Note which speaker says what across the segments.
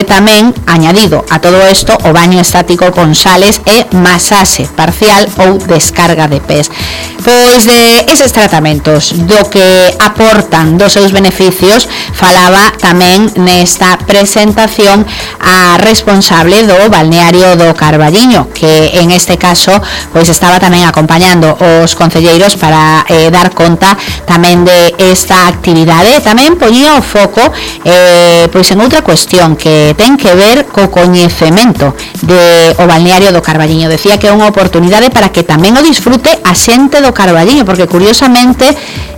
Speaker 1: tamén, añadido a todo isto, o baño estático con sales e masaxe parcial ou descarga de pés. Pois de eses tratamentos, do que aportan dos seus beneficios, falaba tamén nesta presentación a responsable do balneario do Carballiño, que en este caso pois estaba tamén acompañando os concelleiros para dar conta tamén de esta actividade. Tamén poñía o foco pois en outra cuestión que ten que ver co coñecemento de o balneario do Carballiño. Decía que é unha oportunidade para que tamén o disfrute a xente do Carballiño, porque curiosamente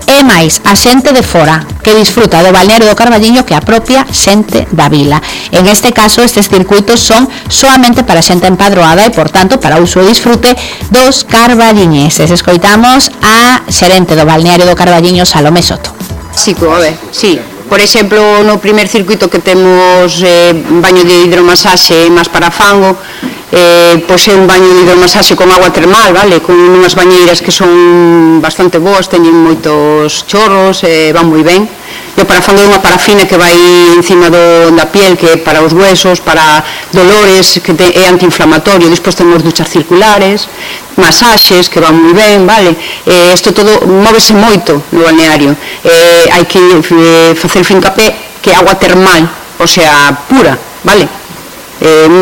Speaker 1: é máis a xente de fora que disfruta do balneario do Carballiño que a propia xente da vila. En este caso, estes circuitos son solamente para xente empadroada e, por tanto, para uso e disfrute dos carballiñeses. Escoitamos a xerente do balneario do Carballiño, Salomé Soto.
Speaker 2: Sí, sí. Por exemplo, no primer circuito que temos baño de hidromasaxe máis para fango, pois é un baño de hidromasaxe con agua termal, vale? Con unhas bañeiras que son bastante boas, teñen moitos chorros, van moi ben. E o parafango é unha parafina que vai encima da piel, que é para os huesos, para dolores, que é antiinflamatorio. Despois temos duchas circulares, masaxes que van moi ben, vale? Isto todo móvese moito no balneario. Hai que facer fincapé que é agua termal, o sea, pura, vale?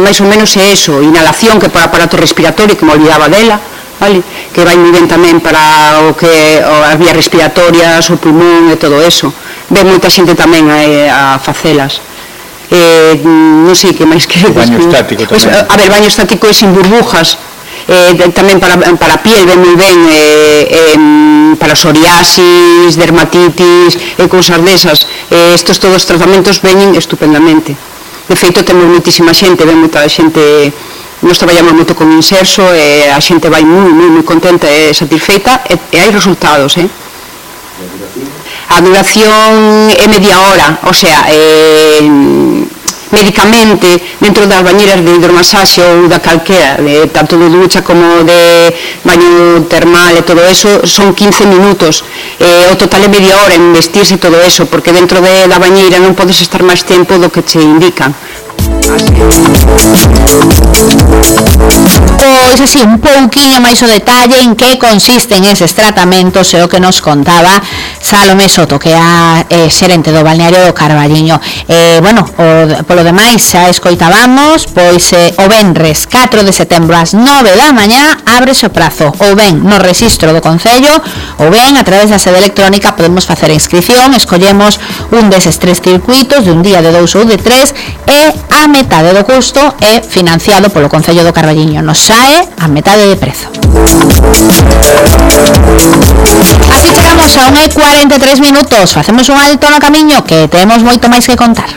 Speaker 2: Mais ou menos é eso. Inhalación, que é para aparato respiratorio, que me olvidaba dela, vale? Que vai moi ben tamén para o que as vías respiratorias, o pulmón e todo eso. Ve moita xente tamén a facelas. Non sei que máis que...
Speaker 3: Baño estático tamén.
Speaker 2: A ver, baño estático é sin burbujas, tamén para a piel ve moi ben, para psoriasis, dermatitis e cousas desas. Estos todos os tratamentos veñen estupendamente. De feito, temos moitísima xente, ven moita xente. Nos traballamos moito con Inserso e a xente vai moi contenta e satisfeita e hai resultados, A duración é media hora, o sea, médicamente, dentro das bañeiras de hidromasaxe ou da calquera, tanto de ducha como de baño termal e todo eso, son 15 minutos. O total é media hora en vestirse todo eso, porque dentro da bañeira non podes estar máis tempo do que che indican.
Speaker 1: Pois así, un pouquiño máis o detalle en que consisten eses tratamentos e o que nos contaba Salomé Soto, que é a xerente do balneario do Carballiño. Bueno, polo demais xa escoitábamos, pois o venres 4 de setembro ás 9 da mañá ábrese o prazo, ou ben no rexistro do Concello, ou ben a través da sede electrónica podemos facer a inscripción, escollemos un deses tres circuitos de un día, de 2 ou de 3 e a metade do custo é financiado polo Concello do Carballiño. Nos sae a metade de prezo. Así chegamos a 1:43 minutos. Facemos un alto no camiño que temos moito máis que contar.